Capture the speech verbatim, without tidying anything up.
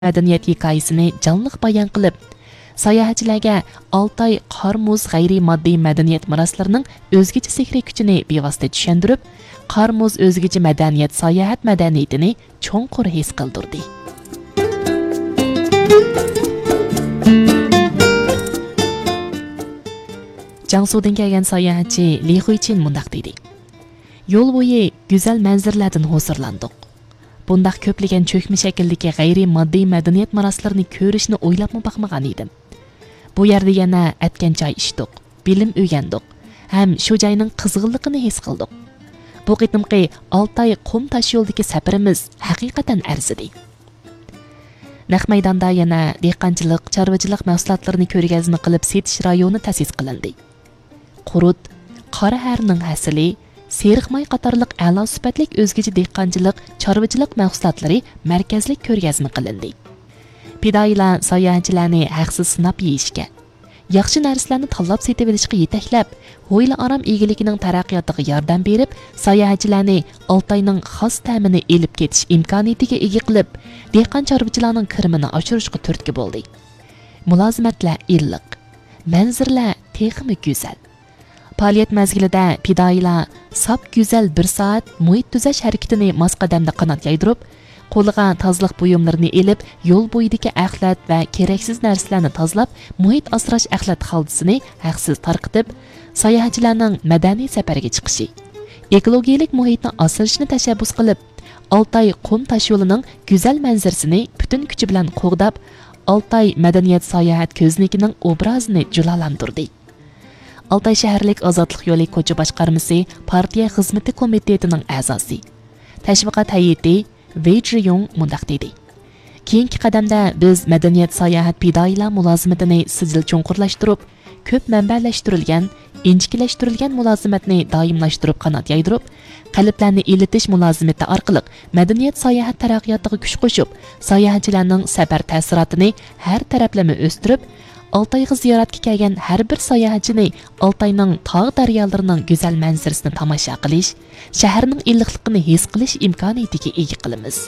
مەدەنىيەت ھېكايىسىنى جانلىق بايان قىلىپ، ساياھەتچىلەرگە ئالتاي قار مۇز غەيرىي ماددىي مەدەنىيەت مىراسلىرىنىڭ ئۆزگىچە سېھرىي كۈچىنى بىۋاسىتە چۈشەندۈرۈپ، قار مۇز ئۆزگىچە مەدەنىيەت ساياھەت مەدەنىيىتىنى چوڭقۇر ھېس قىلدۇردى. جياڭسۇدىن كەلگەن ساياھەتچى لى خۇيچىن مۇنداق دېدى: يول بويى گۈزەل مەنزىرىلەردىن ھۇزۇرلاندۇق. بۇنداق كۆپلىگەن چۆكمە شەكىلدىكى غەيرىي ماددىي مەدەنىيەت مىراسلىرىنى كۆرۈشنى ئويلاپمۇ باقمىغان ئىدىم. بۇ يەردە يەنە ئەتكەن چاي ئىچتۇق، بىلىم ئۆگەندۇق ھەم شۇ جاينىڭ قىزغىنلىقىنى ھېس قىلدۇق. بۇ قېتىمقى ئالتاي قۇم تاشيولىدىكى سەپىرىمىز ھەقىقەتەن ئەرزىدى. نەق مەيداندا يەنە دېھقانچىلىق، چارۋىچىلىق مەھسۇلاتلىرىنى كۆرگەزمە قىلىپ سېتىش رايونى تەسىس قىلىندى. قۇرۇت، قارا ھەرنىڭ ھەسىلى، سېرىق ماي قاتارلىق ئەلا سۈپەتلىك ئۆزگىچە دېھقانچىلىق، چارۋىچىلىق مەھسۇلاتلىرى مەركەزلىك كۆرگەزمە قىلىندى. پىدائىيلار ساياھەتچىلەرنى ھەقسىز سىناپ يېيىشكە، ياخشى نەرسىلەرنى تاللاپ سېتىۋېلىشقا يېتەكلەپ، ھويلا ئارام ئىگىلىكىنىڭ تەرەققىياتىغا ياردەم بېرىپ، ساياھەتچىلەرنى ئالتاينىڭ خاس تەمىنى ئېلىپ كېتىش ئىمكانىيىتىگە ئىگە قىلىپ، دېھقان چارۋىچىلارنىڭ كىرىمىنى ئاشۇرۇشقا تۈرتكە بولدى. مۇلازىمەتلەر ئىللىق، مەنزىرىلەر تېخىمۇ گۈزەل. پائالىيەت مەزگىلىدە پىدائىيلار ساپ گۈزەل بىر سائەت مۇھىت تۈزەش ھەرىكىتىنى ماس قەدەمدە قانات يايدۇرۇپ، قولىغا تازىلىق بۇيۇملىرىنى ئېلىپ، يول بويىدىكى ئەخلەت ۋە كېرەكسىز نەرسىلەرنى تازىلاپ، مۇھىت ئاسراش ئەخلەت خالتىسىنى ھەقسىز تارقىتىپ، ساياھەتچىلەرنىڭ مەدەنىي سەپەرگە چىقىشى، ئېكولوگىيەلىك مۇھىتنى ئاسرىشىنى تەشەببۇس قىلىپ، ئالتاي قۇم تاشيولىنىڭ گۈزەل مەنزىرىسىنى پۈتۈن كۈچى بىلەن قوغداپ، ئالتاي مەدەنىيەت ساياھەت كۆزنىكىنىڭ ئوبرازىنى جۇلالاندۇردى. ئالتاي شەھەرلىك ئازادلىق يولى كوچا باشقارمىسى پارتىيە خىزمىتى كومىتېتىنىڭ ئەزاسى، تەشۋىقات ھەيئىتى ۋېي جيۇڭ مۇنداق دېدى: كېيىنكى قەدەمدە بىز مەدەنىيەت ساياھەت پىدائىيلار مۇلازىمىتىنى سىجىل چوڭقۇرلاشتۇرۇپ، كۆپ مەنبەلەشتۈرۈلگەن، ئىنچىكىلەشتۈرۈلگەن مۇلازىمەتنى دائىملاشتۇرۇپ قانات يايدۇرۇپ، قەلبلەرنى ئىلىتىش مۇلازىمىتى ئارقىلىق مەدەنىيەت ساياھەت تەرەققىياتىغا كۈچ قوشۇپ، ساياھەتچىلەرنىڭ سەپەر تەسىراتىنى ھەر تەرەپلىمە ئۆستۈرۈپ، ئالتايغا زىيارەتكە كەلگەن ھەر بىر ساياھەتچىنى ئالتاينىڭ تاغ دەريالىرىنىڭ گۈزەل مەنزىرىسىنى تاماشا قىلىش، شەھەرنىڭ ئىللىقلىقىنى ھېس قىلىش ئىمكانىيىتىگە ئىگە قىلىمىز.